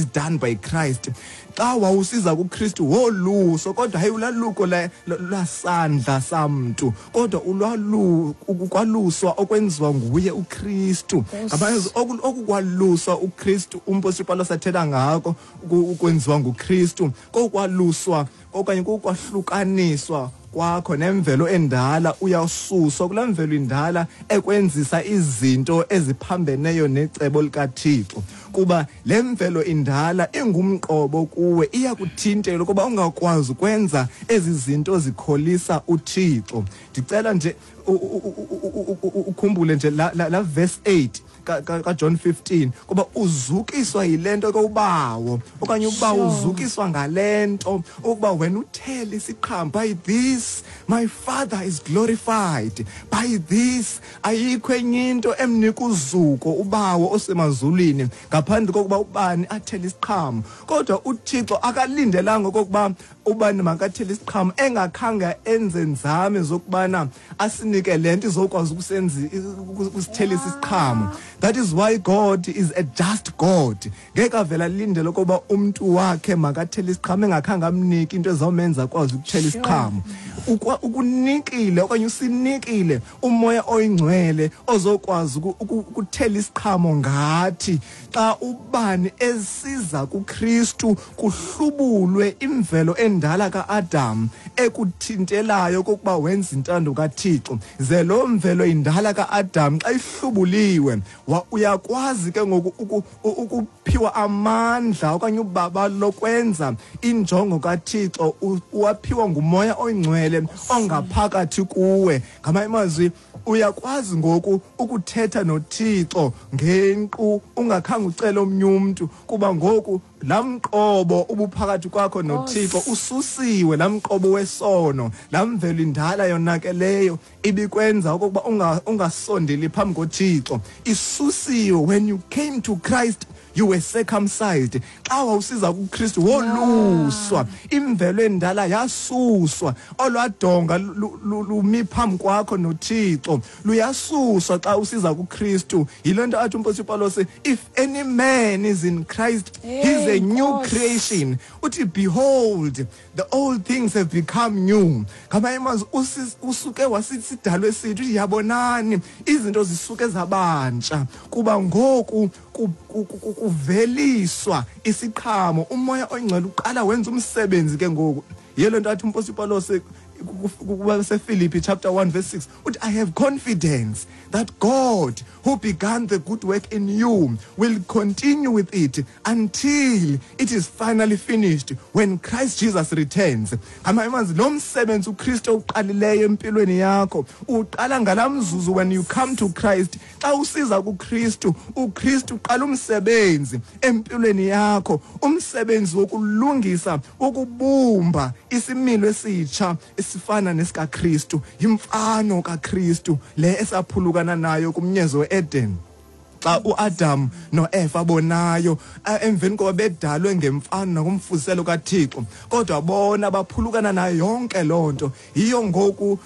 Done by Christ. Xa wawusiza kuKristu woluso, kodwa hayi ulwaluko lwasandla samntu, kodwa ukwaluswa okwenziwa nguye uKristu. Ngamanye okukwaluswa uKristu umpostoli Pawulos athetha ngako ukwenziwa nguKristu, kokwaluswa okanye kokwahlukaniswa kwakho nemvelo endala. Uyasuswa kulaa mvelo indala ekwenzisa izinto eziphambeneyo necebo likaThixo, kuba le mvelo indala ingumqobo kuwe, iyakuthintela ukuba ungakwazi ukwenza ezi zinto zikholisa uThixo. Ndicela nje ukhumbule nje la verse 8 kaJohn 15, kuba uzukiswa yile nto ke uBawo, okanye uBawo uzukiswa ngale nto ukuba wena uthele isiqhamo. By this my Father is glorified, by this. Ayikho enye into emnika uzuko uBawo osemazulwini ngaphandle kokuba ubani athele isiqhamo. Kodwa uThixo akalindelanga okokuba ubani makathele isiqhamo engakhange enze nzame zokubana asinike le nto izokwazi ukusithelisa isiqhamo. That is why God is a just God. Ngeke avela alindele ukuba umntu wakhe makathele isiqhamo engakhange amnike into ezawumenza akwazi ukuthela isiqhamo. Ukunikile okanye usinikile uMoya oyiNgcwele ozokwazi ukuthela isiqhamo ngathi xa ubani esiza kuKristu, kuhlubulwe imvelo endala kaAdam ekuthintelayo kokuba wenza intando kaThixo. Ze loo mvelo indala kaAdam xa ihlubuliwe, uyakwazi ke ngoku ukuphiwa amandla okanye ubaba lokwenza injongo kaThixo, uwaphiwa nguMoya oyiNgcwele ongaphakathi kuwe. Ngamanye amazwi, uyakwazi ngoku ukuthetha noThixo ngenkqu ungakhange ucele omnye umntu, kuba ngoku laa mqobo ubuphakathi kwakho noThixo ususiwe, laa mqobo wesono, laa mvelo indala yonakeleyo ibikwenza okokuba ungasondeli phambi koThixo, isusiwe. When you came to Christ, you were circumcised. Xa wawusiza kuKristu woluswa, imvelo endala yasuswa. Olwadonga lumi phambi kwakho noThixo luyasuswa xa usiza kuKristu. Yile nto athi umpostoli Pawulos, "If any man is in Christ, he's a Hey, new Nkosi. creation." Uthi, "Behold, the old things have become new." Ngamanye amazwi, usuke wasisidalwe esitsha. Uthi, yabonani, izinto zisuke zabantsha, kuba ngoku kuveliswa isiqhamo. UMoya oyiNgcwele uqala wenza umsebenzi ke ngoku. Yile nto athi umpostoli Pawulos kubaseFilipi chapter 1 verse 6, uthi, "I have confidence that God who began the good work in you will continue with it until it is finally finished when Christ Jesus returns." Ngamanye amazwi, lo msebenzi uKristu uqalileyo empilweni yakho uqala ngalaa mzuzu when you come to Christ. Xa usiza kuKristu, uKristu uqala umsebenzi empilweni yakho, umsebenzi wokulungisa, wokubumba isimilo esitsha esifana nesikaKristu, imfano kaKristu le esaphulukana nayo kumnyezo weEden xa uAdam noEva bonayo, emveni koba bedalwe ngemfano nakumfuziselo kaThixo, kodwa bona baphulukana nayo yonke loo nto. Yiyo ngoku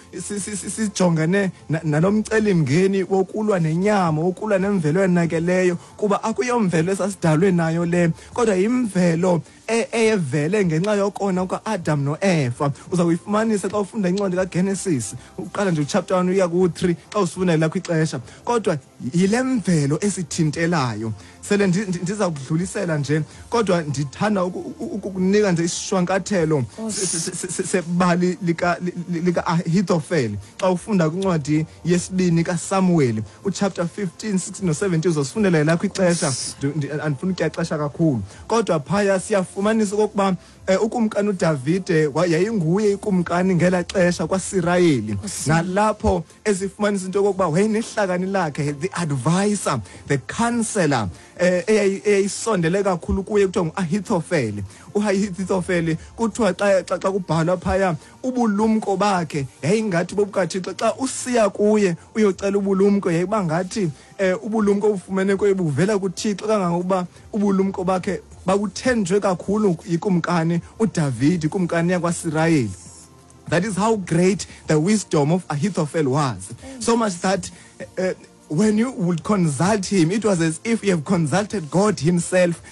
sijongene nalomcelimngeni wokulwa nenyama, wokulwa nemvelo yonakeleyo, kuba akuyomvelo esasidalwe nayo le, kodwa yimvelo eyevele ngenxa yokona kuka-Adam noEva. Uza kuyifumanisa xa ufunda incwadi kaGenesis, uqala nje uchapter 1 uya ku-3 xa usifunda lakho ixesha. Kodwa yile mvelo esithintelayo. Sele ndiza kudlulisela nje, kodwa ndithanda ukukunika nje isishwankathelo sebali lika-Ahithofeli. Xa ufunda kwincwadi yesibini kaSamuweli uchapter 15, 16 no-17, uzosifundela lakho ixesha. Andifuni ukutya ixesha kakhulu, kodwa phaya siyafumanisa okokuba ukumkani uDavide yayinguye ikumkani ngela xesha kwaSirayeli, nalapho esifumanisa into yokokuba wayenehlakani lakhe, the advisor, the counselor, eyayisondele kakhulu kuye, kuthiwa nguAhithofeli. UAhithofeli kuthiwa xa kubhalwa phaya, ubulumko bakhe yayingathi bobukaThixo. Xa usiya kuye uyocela ubulumko, yayiba ngathi ubulumko obufumene kuye buvela kuThixo, kangangokuba ubulumko bakhe babuthenjwe kakhulu yikumkani uDavid, ikumkani yakwaSirayeli. That is how great the wisdom of Ahithophel was, so much that when you would consult him, it was as if you have consulted God himself.